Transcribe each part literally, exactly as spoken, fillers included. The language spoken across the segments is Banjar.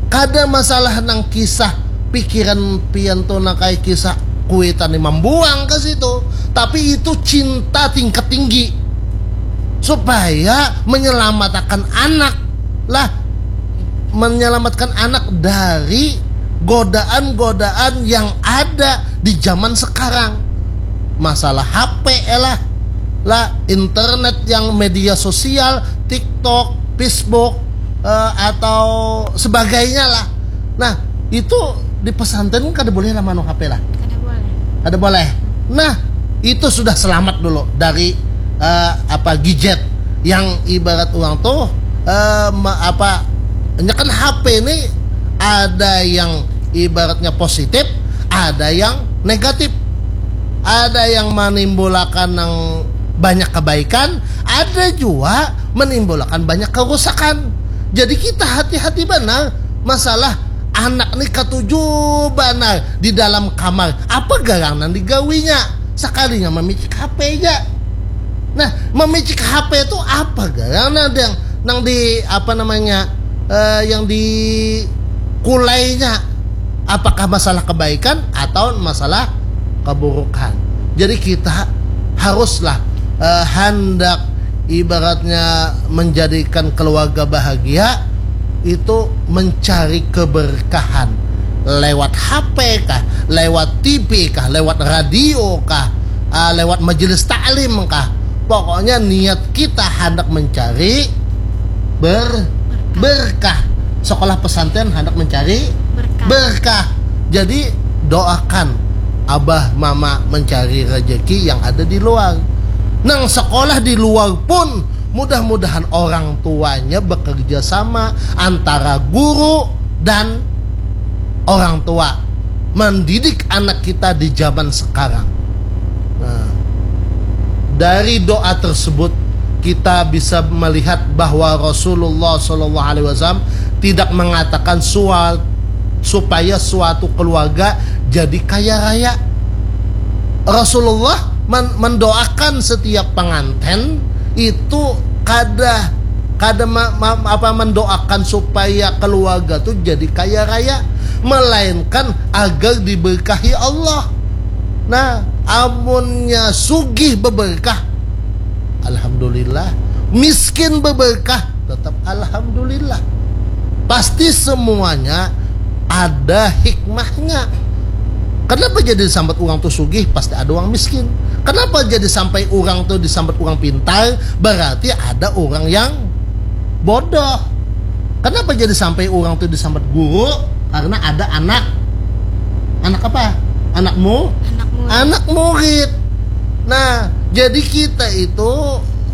Kada masalah nang kisah pikiran pian tu nang kaya kisah kuitan ni mambuang ke situ, tapi itu cinta tingkat tinggi supaya menyelamatakan anak lah, menyelamatkan anak dari godaan-godaan yang ada di zaman sekarang. Masalah H P lah, lah internet yang media sosial, TikTok, Facebook, eh, atau sebagainya lah. Nah, itu di pesantren kada boleh lah manu H P lah. Kada boleh. Kada boleh. Nah, itu sudah selamat dulu dari eh, apa gadget yang ibarat orang tuh eh, me- apa nyakan H P ini ada yang ibaratnya positif, ada yang negatif. Ada yang menimbulkan yang banyak kebaikan, ada juga menimbulkan banyak kerusakan. Jadi kita hati-hati benar masalah anak ni katuju benar di dalam kamar. Apa garang nang digawinya? Sekalinya memicik H P aja. Nah, memicik H P itu apa garang nang yang nang di apa namanya eh, yang di kulainya? Apakah masalah kebaikan atau masalah keburukan? Jadi kita haruslah eh, hendak ibaratnya menjadikan keluarga bahagia itu mencari keberkahan lewat H P kah, lewat T V kah, lewat radio kah, ah, lewat majelis taklim kah. Pokoknya niat kita hendak mencari ber berkah. Sekolah pesantren hendak mencari berkah. Berkah. Jadi doakan abah mama mencari rezeki yang ada di luar. Nang sekolah di luar pun mudah-mudahan orang tuanya bekerja sama antara guru dan orang tua mendidik anak kita di zaman sekarang. Nah, dari doa tersebut kita bisa melihat bahwa Rasulullah Shallallahu Alaihi Wasallam tidak mengatakan suat, supaya suatu keluarga jadi kaya raya. Rasulullah men- mendoakan setiap pengantin itu kada kada ma- ma- apa mendoakan supaya keluarga tu jadi kaya raya, melainkan agar diberkahi Allah. Nah, amunnya sugih beberkah, alhamdulillah. Miskin beberkah, tetap alhamdulillah. Pasti semuanya ada hikmahnya. Kenapa jadi sambat orang tu sugih, pasti ada orang miskin. Kenapa jadi sampai orang tu disambat orang pintar, berarti ada orang yang bodoh. Kenapa jadi sampai orang tu disambat guru? Karena ada anak. Anak apa? Anakmu? Anak murid. Anak murid. Nah, jadi kita itu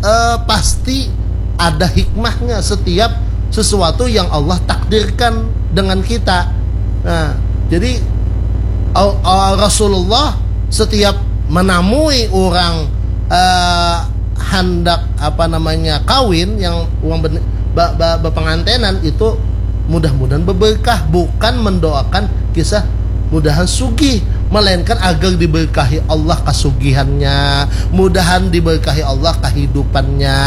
eh, pasti ada hikmahnya setiap sesuatu yang Allah takdirkan dengan kita. Nah, jadi Al- Al- Rasulullah setiap menamui orang eh, hendak apa namanya kawin yang orang ben- ba- ba- berpengantenan itu mudah-mudahan berberkah, bukan mendoakan kisah mudahan sugih, melainkan agar diberkahi Allah kasugihannya, mudahan diberkahi Allah kehidupannya.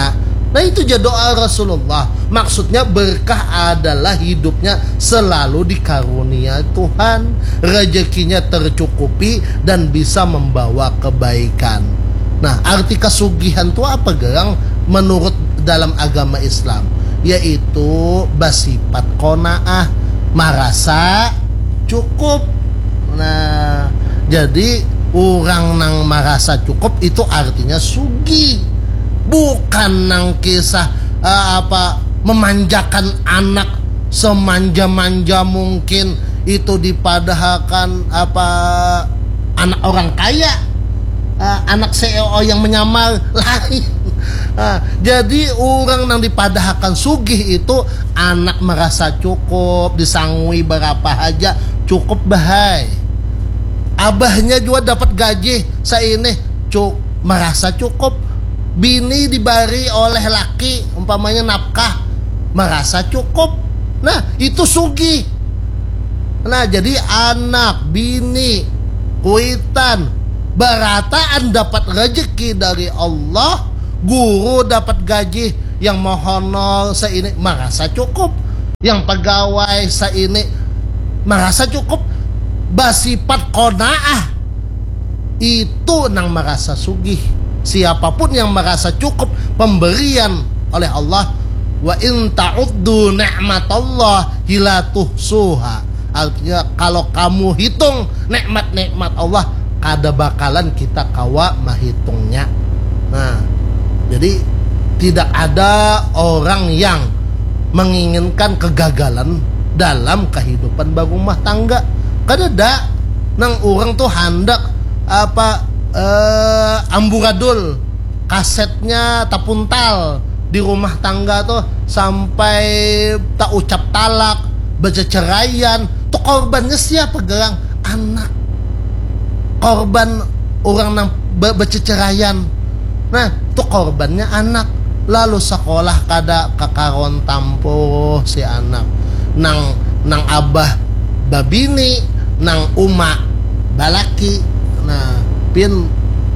Nah, itu aja doa Rasulullah. Maksudnya berkah adalah hidupnya selalu dikarunia Tuhan, rezekinya tercukupi dan bisa membawa kebaikan. Nah, arti kasugihan tu apa gerang menurut dalam agama Islam? Yaitu bersifat qanaah, marasa cukup. Nah, jadi orang nang marasa cukup itu artinya sugih. Bukan nang kisah eh, apa memanjakan anak semanja-manja mungkin itu dipadahakan apa anak orang kaya. Ah, anak C E O yang menyamar lain. Ah, jadi orang nang dipadahakan sugih itu anak merasa cukup, disangui berapa haja cukup bahai. Abahnya juga dapat gaji saini, cuk merasa cukup. Bini dibari oleh laki umpamanya nafkah, merasa cukup. Nah, itu sugih. Nah, jadi anak, bini, kuitan, barataan dapat rezeki dari Allah, guru dapat gaji yang mahonor saini, merasa cukup. yang pegawai saini merasa cukup, basifat qanaah, itu nang merasa sugih. Siapapun yang merasa cukup pemberian oleh Allah, wa in ta'uddu ni'matallahi la tuhsuha. Artinya, kalau kamu hitung nikmat-nikmat Allah, kada bakalan kita kawa mahitungnya. Nah, jadi tidak ada orang yang menginginkan kegagalan dalam kehidupan berumah tangga. Kadada. Nang orang tuh handak apa, eh, amburadul, kasetnya tapuntal di rumah tangga tuh sampai tak ucap talak, berceceraian. Tuh korbannya siapa, gerang? Anak. Korban orang nang be- berceceraian. Nah, tuh korbannya anak. Lalu sekolah kada kakaron tampuh si anak. Nang nang abah babini, nang uma balaki. Nah, pian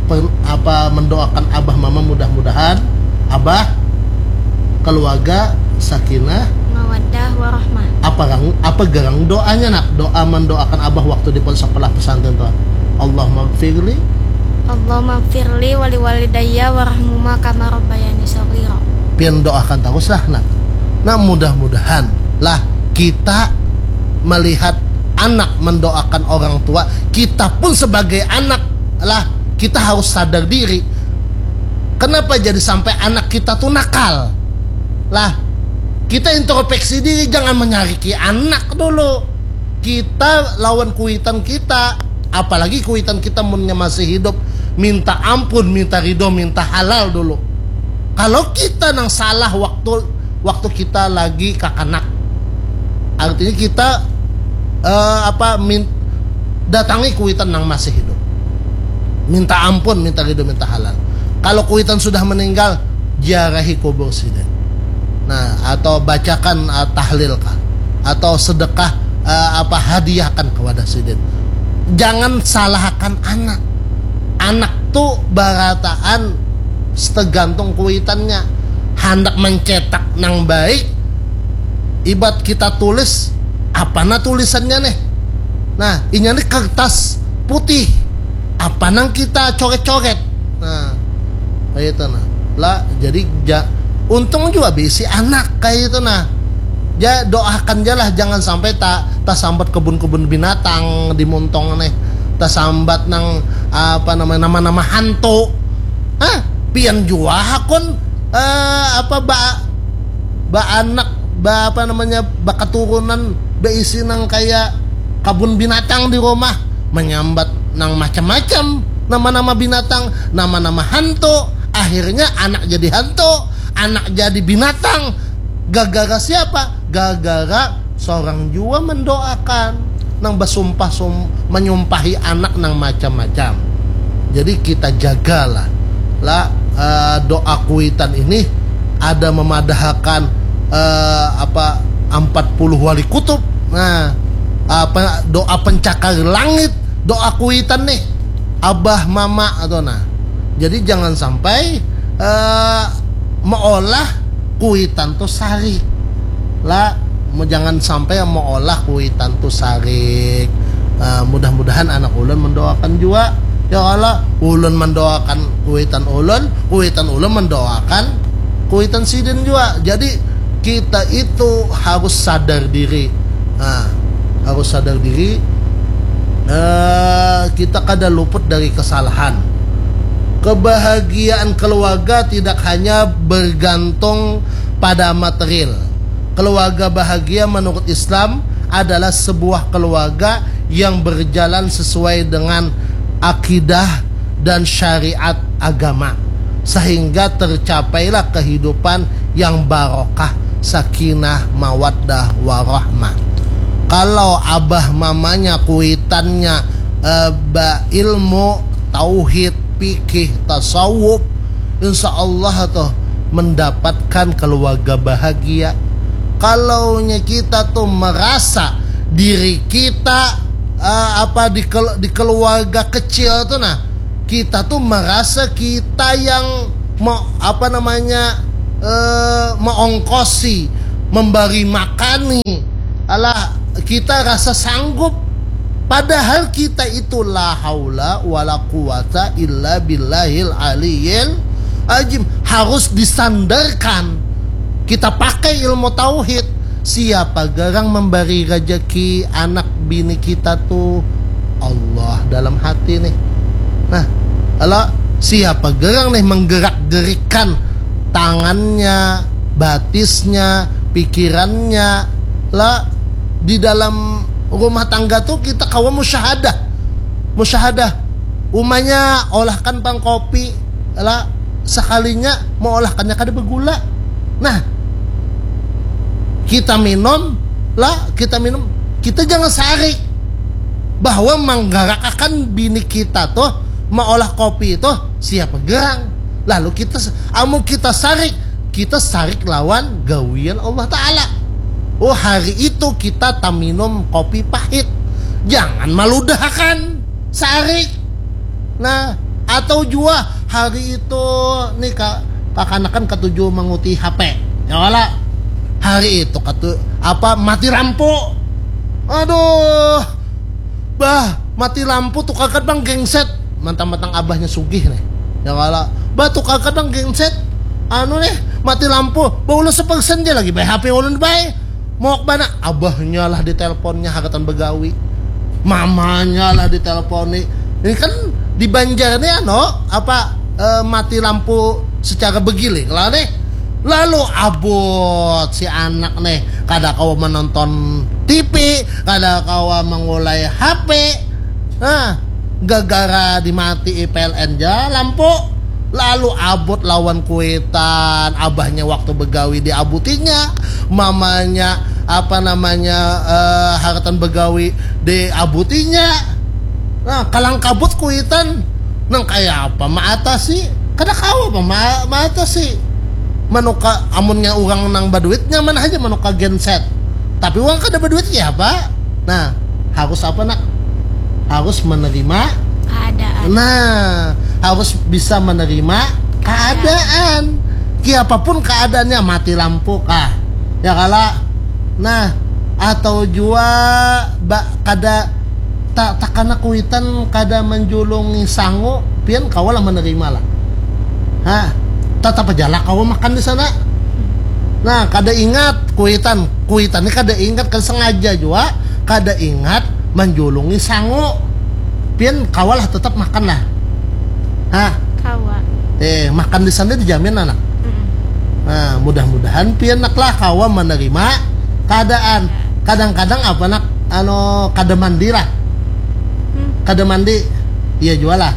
per- apa, mendoakan abah mama, mudah-mudahan abah keluarga sakinah. Mawaddah warahmah. Apa gerang, apa gerang doanya, nak? Doa mendoakan abah waktu di pon- sekolah pesantren tuh. Allahumma gfirli. Allahumma firli wali walidayya warahmuma kama rabbayani shaghira. Pian doakan terus lah, nak. Nah, mudah-mudahan lah kita melihat anak mendoakan orang tua, kita pun sebagai anak lah, kita harus sadar diri. Kenapa jadi sampai anak kita tuh nakal? Lah, kita introspeksi diri, jangan menyariki anak dulu. Kita lawan kuitan kita, apalagi kuitan kita munnya masih hidup, minta ampun, minta ridho, minta halal dulu. Kalau kita nang salah waktu waktu kita lagi kakanak, artinya kita eh, apa min, datangi kuitan nang masih hidup, minta ampun, minta ridho, minta halal. Kalau kuitan sudah meninggal, ziarahi kubur sidin. Nah, atau bacakan uh, tahlil kah, atau sedekah uh, apa, hadiahkan kepada sidin. Jangan salahkan anak. Anak tuh barataan, setegantung kuitannya. Handak mencetak nang baik, ibat kita tulis, apa nah tulisannya nih? Nah, inya nih kertas putih, apa nang kita coret-coret? Nah, kayak itu nah. Lah, jadi ja, untung juga bisi anak kayak itu nah. Ya, doakan aja lah, jangan sampai tak tak sambat kebun-kebun binatang di Muntong nih, tak sambat nang apa namanya, nama-nama hantu. Hah, pian jua hakun eh, apa ba ba anak ba apa namanya, ba keturunan, beisi nang kayak kabun binatang di rumah, menyambat nang macam-macam, nama-nama binatang, nama-nama hantu. Akhirnya anak jadi hantu, anak jadi binatang. Gagara siapa? Gagara seorang jua mendoakan, nang basumpah sum, menyumpahi anak nang macam-macam. Jadi kita jagalah lah uh, doa kuitan ini ada memadahakan uh, apa empat puluh wali kutub. Nah, apa doa pencakar langit, doa kuitan nih, abah mama atau nah. Jadi jangan sampai uh, meolah kuitan tuh sarik lah, jangan sampai meolah kuitan tuh sarik. Uh, mudah-mudahan anak ulun mendoakan juga, ya Allah, ulun mendoakan kuitan ulun, kuitan ulun mendoakan kuitan sidin juga. Jadi kita itu harus sadar diri. Nah, harus sadar diri. Uh, kita kada luput dari kesalahan. Kebahagiaan keluarga tidak hanya bergantung pada material. Keluarga bahagia menurut Islam adalah sebuah keluarga yang berjalan sesuai dengan akidah dan syariat agama, sehingga tercapailah kehidupan yang barokah, sakinah, mawaddah, warahmah. Kalau abah mamanya kuitannya eh, ba ilmu tauhid, fikih, tasawuf, insya Allah tuh mendapatkan keluarga bahagia. Kalaunya kita tuh merasa diri kita uh, apa di, di keluarga kecil tuh, nah, kita tuh merasa kita yang mau apa namanya uh, mengongkosi memberi makani, alah, kita rasa sanggup, padahal kita itu la haula wala quwata illa billahil aliyil ajim. Harus disandarkan, kita pakai ilmu tauhid. Siapa garang memberi rezeki anak bini kita tuh? Allah dalam hati nih. Nah, kalau siapa garang nih menggerak-gerikan tangannya, batisnya, pikirannya, lah, di dalam rumah tangga tuh kita kawa musyahadah. Musyahadah. Umanya olahkan pang kopi, lah, sekalinya mau olahkannya kada bergula. Nah, kita minum, lah, kita minum, kita jangan sarik bahwa menggerakkan bini kita tuh maolah kopi itu siapa gerang. Lalu kita, amun kita sarik, kita sarik lawan gawian Allah Ta'ala. Oh, hari itu kita taminum kopi pahit. Jangan maludahakan sarik. Nah, atau jua hari itu nih ka, kakanakan katuju manguti H P. Ya wala. Hari itu katu apa mati lampu. Aduh. Bah, mati lampu tukarkan bang genset. Mantang-mantang abahnya sugih nih. Ya wala. Bah, tukarkan bang genset. Anu nih, mati lampu. Bah, ulun sepersen dia lagi bay H P ulun bay. Mau ke mana? Abahnya lah diteleponnya hagatan begawi. Mamanya lah diteleponi. Ini kan di Banjar nih ano apa eh, mati lampu secara bergilir lah nih. Lalu abut si anak nih kada kawa menonton T V, kada kawa mengulai H P. Nah, gara-gara dimati P L N ja lampu. Lalu abut lawan kuitan, abahnya waktu begawi diabutinya, mamanya apa namanya eh, haratan begawi diabutinya. Nah, kalang kabut kuitan nang kaya apa maatasi? Kada kawa apa ma- maatasi. Manuka amunnya urang nang baduit nyaman haja manuka genset. Tapi urang kada baduit ya apa? Nah, harus apa nak? Harus menerima Keadaan. Nah, harus bisa menerima keadaan. Kiapapun keadaannya, mati lampu kah, ya kala. Nah, atau jua ba, kada ta, takana kuitan kada menjulungi sangu, pian kawalah menerima lah. Ha, tetap aja lah kawa makan di sana. Nah, kada ingat kuitan, kuitan ini kada ingat, kada sengaja jua kada ingat menjulungi sangu. Pian kawalah tetap makan lah. Ha, Kawa. eh makan di sana dijamin anak. Mm-mm. Nah, mudah-mudahan pian nak lah kawa menerima keadaan. Kadang-kadang apa nak anu kada mandi lah. Hmm. Kada mandi. Iya jua lah.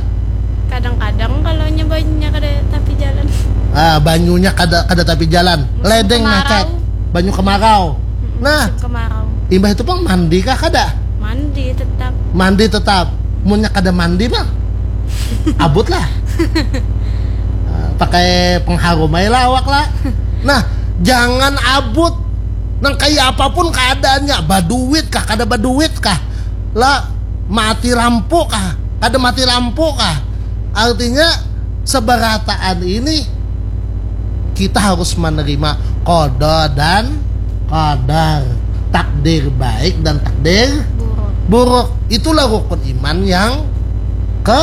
Kadang-kadang kalau nyebanya kada tapi jalan. Ah, banyunya kada kada tapi jalan. Musim Ledeng kemarau. Macet. Banyu kemarau. Mm-mm, Nah, musim kemarau. Imbah itu pang mandi kah kada? Mandi tetap. Mandi tetap. Munnya kada mandi mah abut lah. Ah, pakai pengharum aja lah awak lah. Nah, jangan abut. Nang kaya apapun keadaannya, baduit kah, kada baduit kah, lah mati lampu kah, kada mati lampu kah, artinya seberataan ini kita harus menerima qada dan qadar, takdir baik dan takdir Buruk. buruk. Itulah rukun iman yang ke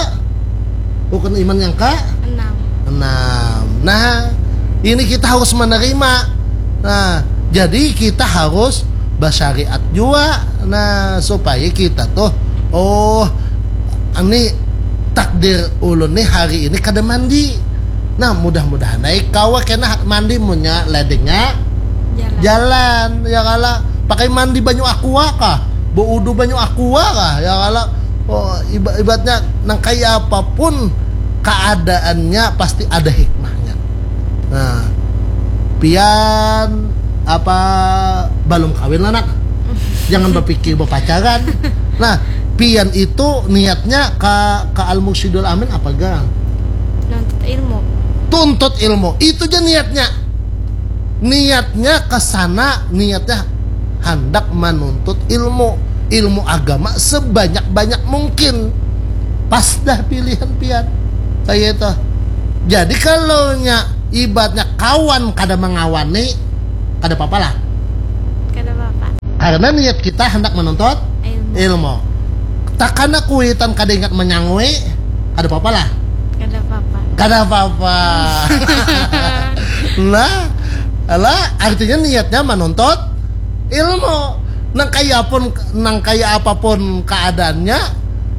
rukun iman yang ke Enam. enam. Nah, ini kita harus menerima. Nah, jadi kita harus bersyariat juga. Nah, supaya kita tuh, oh, ini takdir ulun nih hari ini kada mandi. Nah, mudah-mudahan naik kawa kena mandi munnya ledengnya Jalan. jalan, ya kala. Pakai mandi banyu aqua kah? Beudu banyu aqua kah? Ya kala. Oh, iba- ibaratnya nang kaya apapun keadaannya pasti ada hikmahnya. Nah, pian apa belum kawin lah nak? Jangan berpikir berpacaran. Nah, pian itu niatnya ke ke Al Mursyidul Amin apa gang? Nuntut ilmu. Tuntut ilmu. Itu aja niatnya. Niatnya ke sana, niatnya hendak menuntut ilmu, ilmu agama sebanyak-banyak mungkin. Pas dah pilihan pian. Kayak itu. Jadi kalau nya ibaratnya kawan kada mengawani, kada apa-apa lah. Karena niat kita hendak menuntut ilmu. Takana kuitan kada ingat menyangui, kada apa-apa lah. Kada apa-apa. Kada apa-apa. Nah, lah artinya niatnya menuntut ilmu. Nang kaya pun, nang kaya apapun keadaannya,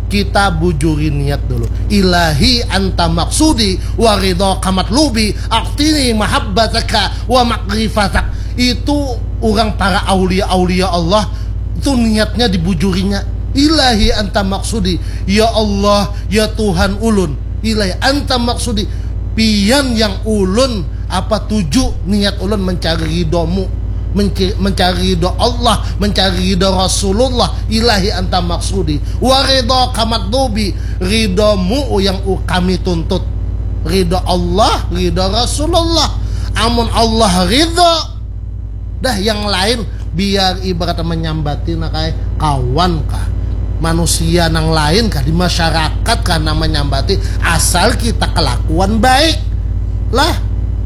kita bujuri niat dulu. Ilahi anta maksudi wa ridha kamatlubi aktini mahabbataka wa makrifatak. Itu orang para aulia-aulia Allah itu niatnya dibujurinya. Ilahi anta maksudi, ya Allah, ya Tuhan ulun. Ilahi anta maksudi, pian yang ulun apa tuju, niat ulun mencari ridhomu, menci- mencari ridho Allah, mencari ridho Rasulullah. Ilahi anta maksudi, wa ridha kamatlubi, ridhomu yang u- kami tuntut. Ridho Allah, ridho Rasulullah. Amun Allah ridho, dah yang lain biar ibarat menyambati nak ai kawan kah, manusia nang lain kah, di masyarakat kah nang menyambati, asal kita kelakuan baik lah.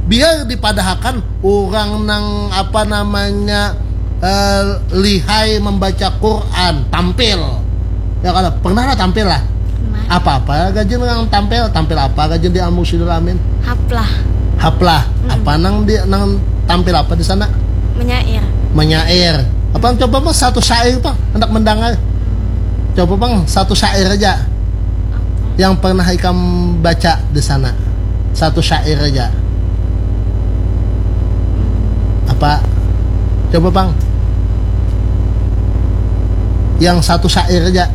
Biar dipadahakan orang nang apa namanya eh, lihai membaca Quran tampil, ya kalau pernah lah tampil lah. Pernah. Apa-apa gaji nang tampil, tampil apa gaji di Al Mursyidul Amin? Haplah. Haplah. Apa nang di nang tampil apa di sana? Menyair. Menyair. Apa coba mas satu syair pang, hendak mendengar. Coba pang satu syair aja yang pernah ikam baca di sana. Satu syair aja. Apa? Coba pang. Yang satu syair aja.